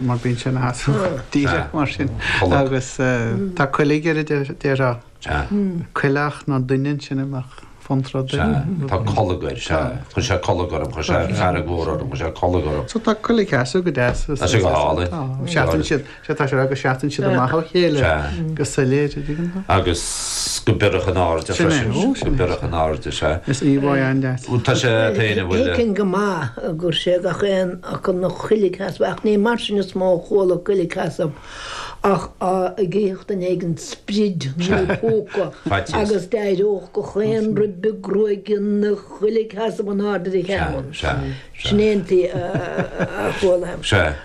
Mar bíonn sé ina sheasamh díreach mar sin. Agus tá coiligh air a déarfá. Coileach nó duine ansin a mbeadh fonn rud air. Tá colg air, sea. Chuir sé colg orm, chuir sé fearg mhór orm, chuir sé colg orm. So tá coilgsheasamh go deas. Tá sé go hálainn. Seasann siad, sea tá sé ag rá go seasann siad amach ó chéile go soiléir, an dtuigeann tú? Agus go biorach in airde freisin. Go biorach in airde, sea. Is íomhá an-deas. Tá sé féin a bhfuil. Thuigfinn go maith gur sé gach aon fhocal 'na choilgsheasamh ach ní mar sin is mó a chuala coilgsheasamh ach dá gcífeadh duine éigin sprid nó púca agus d'éireodh gach aon ribe gruaige 'na choilgsheasamh in airde ar a cheann. Sin é an tslí a chuala.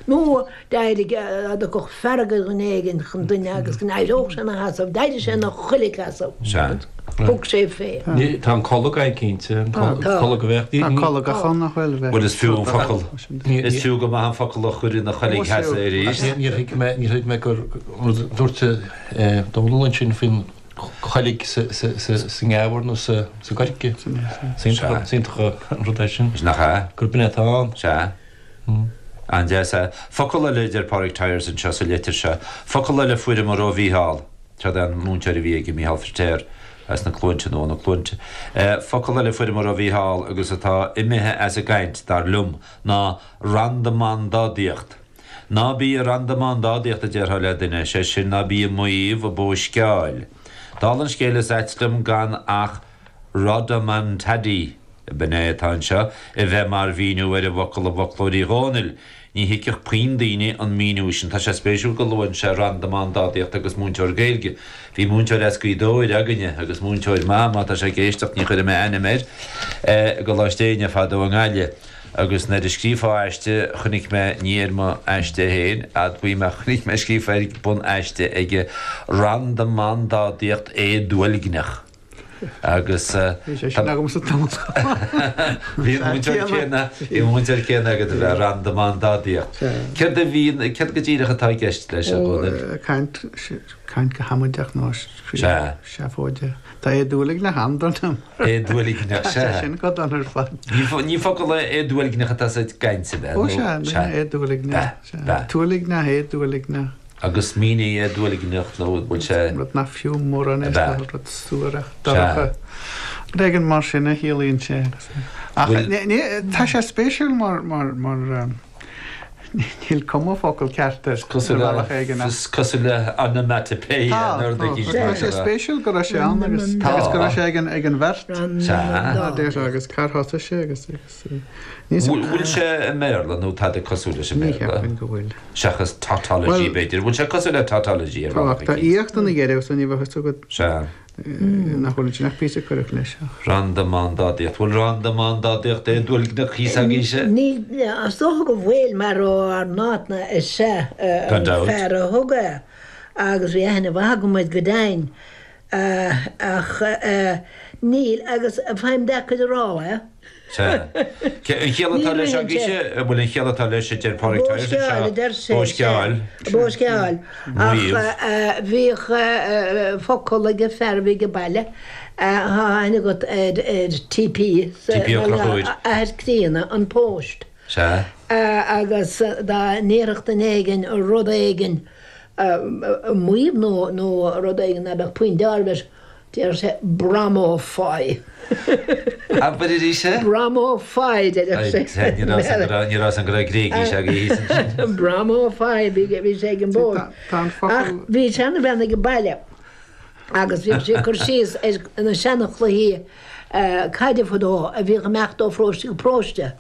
Nó D'éirigh, dá dtiocfadh fearg ar dhuine éigin chun duine agus go n-éireodh sé ina sheasamh, d'éirigh sé ina choilgsheasamh. Sea. Thug sé fé. Tá an colg ann cinnte, an colg a bheadh. Tá colgach ann nach bhfuil? Bhuel is fiú an focal, is fiú go maith an focal a chur ina choilgsheasamh arís. Níor thuig mé, níor thuig mé gur rud a dúirt Dónall ansin faoin choilg sa ngeamhar nó sa gcoirce. Is iontach an rud é sin. Nach ea? Gurb in é atá ann. Sea. An-deas é. Focal eile a deir Pádraig Tyers anseo sa litir seo. Focal eile a fuaireamar ó Mhícheál. Seo é an múinteoir a bhí aige, Mícheál Firtéar, as na Cluainte nó ó na Cluainte. Focal eile a fuaireamar ó Mhícheál agus atá imithe as an gcaint, dar liom, ná randamandádaíocht. Ná bí ag randamandádaíocht a déarfá le duine, sé sin ná bí ag maíomh, ag bóisceáil. Dála an scéil is ait liom gan ach Rodomantady, b'in é atá anseo, a bheith mar mhíniú ar an bhfocal i bhfoclóir Uí Dhónaill. Ní thuigfeadh puinn daoine an míniú sin. Tá sé spéisiúil go luann sé randamandádaíocht agus múinteoir Gaeilge. Bhí múinteoir as Gaoth Dobhair againne, agus múinteoir maith, má tá sé ag éisteacht, ní chuirfidh mé ainm air, i gColáiste Éinne fadó i nGaillimh. Agus nuair a scríofá aiste, chonaic mé, ní ar mo aiste féin, admhaím, ach chonaic mé scríofa ar bun aiste aige, randamandádaíocht éaduailgneach. Agus Bhí sé sin agamsa tamall chomh maith. Bhí an múinteoir céanna, bhí an múinteoir céanna agat a bheith randamandádaíocht. Céard a bhíonn, céard go díreach atá i gceist leis, a Dhónaill? Ó, caint, caint go hamaideach nó seafóideach. Tá éaduailgneach an-dona. Éaduailgneach, sea. Tá sé sin go dona ar fad. Ní focal é éaduailgneach atá sa gcaint, ab ea? Ó sea, éaduailgneach. B'ea. Tuailgneach, éaduailgneach. Agus mínigh éaduailgneach nó an bhfuil sé. Rud nach fiú mórán é, is dócha, rud suarach, dorcha. Rud éigin mar sin a chiallaíonn sé. Ach tá sé spéisiúil mar, mar, mar, níl cuma focal ceart air ar bhealach éigin ach. Is cosúil le onomatopoeia nó rud éigin. Tá, tá sé spéisiúil go raibh sé ann agus go raibh sé ag an bheirt. Sea. Agus cár thosaigh sé agus. Bhfuil sé i mBéarla nó tada cosúil leis an Ní Bhéarla? cheapfainn go bhfuil. Seachas tautology, b'fhéidir. Bhfuil sé cosúil le tautology ar bhealach Tá eicínt? íocht ina dheireadh so ní bheadh fhios agat Sea. nach bhfuil ansin ach píosa a cuireadh leis ach. Randamandádaíocht. Bhfuil randamandádaíocht éaduailgneach thíos agaibhse? Níl, is dócha go bhfuil mar ó ár n-áitne is ea Gan an dabht. fear a thug é agus bhí aithne mhaith agam air go deimhin. Ach níl, agus faighim deacair a rá é. Sea. An chiall atá leis agaibhse, an bhfuil an chiall atá leis a deir Pádraig Tyers Bóisceáil, a deir sé. Bóisceáil. Bóisceáil. Ach bhíodh focal ag an fear a bhí ag baile, tá aithne agat ar TP, TP Ó Conchúir. Athair críonna, an Póst. Sea. Agus dá ndéarfadh duine éigin rud éigin, maíomh nó nó rud éigin ná beadh puinn deáraimh leis, déarfadh sé Bromófaí. Abair arís é. Bromófaí, déarfadh sé. Ní raibh fhios agam go raibh Gréigis agaibh thíos ansin. Bromófaí, bhí sé ag an bpóst. Ach bhí seanbhean ag an baile agus bhíodh sí ag cur síos ar na seanchluichí caide fadó a bhíodh ag imeacht ó pharóiste go paróiste.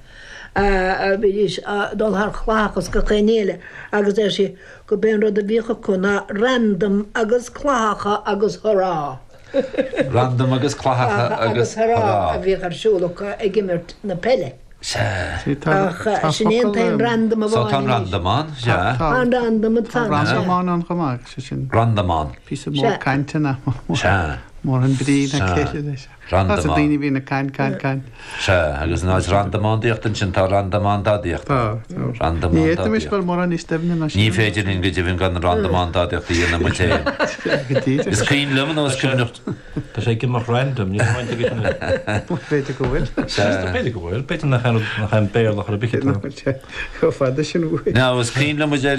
Bhídís ag dul thar chlathacha is gach aon ní eile agus deir sí gurb é an rud a bhíodh acu ná randam agus clathacha agus hurá. Randam agus clathacha agus hurá. a bhíodh ar siúl acu ag imirt na peile. Sea. Ach sin é an t-aon randam amháin So tá an randam ann, sea. Tá an randam ann. Tá randam ann chomh maith, sé sin. Randam ann. Píosa mór cainte nach Sea. Mórán brí ná céille leis. Tá sa daoine a bhíonn ag caint, caint, caint. Sea, agus in áit randamandaíocht ansin tá randamandádaíocht. Tá, tá. Ní fhéadfaimis dul mórán níos doimhne ná sin. Ní féidir linn go deimhin gan randamandádaíocht a dhéanamh muid féin. Go díreach. Is cuimhin liom nó is cuimhneach. Tá sé ag imeacht random, níl baint aige sin. B'fhéidir go bhfuil. B'fhéidir go bhfuil, b'fhéidir nach aon Béarla chor ar bith atá. Chomh fada sin uaidh. Now, is cuimhin liom a deir.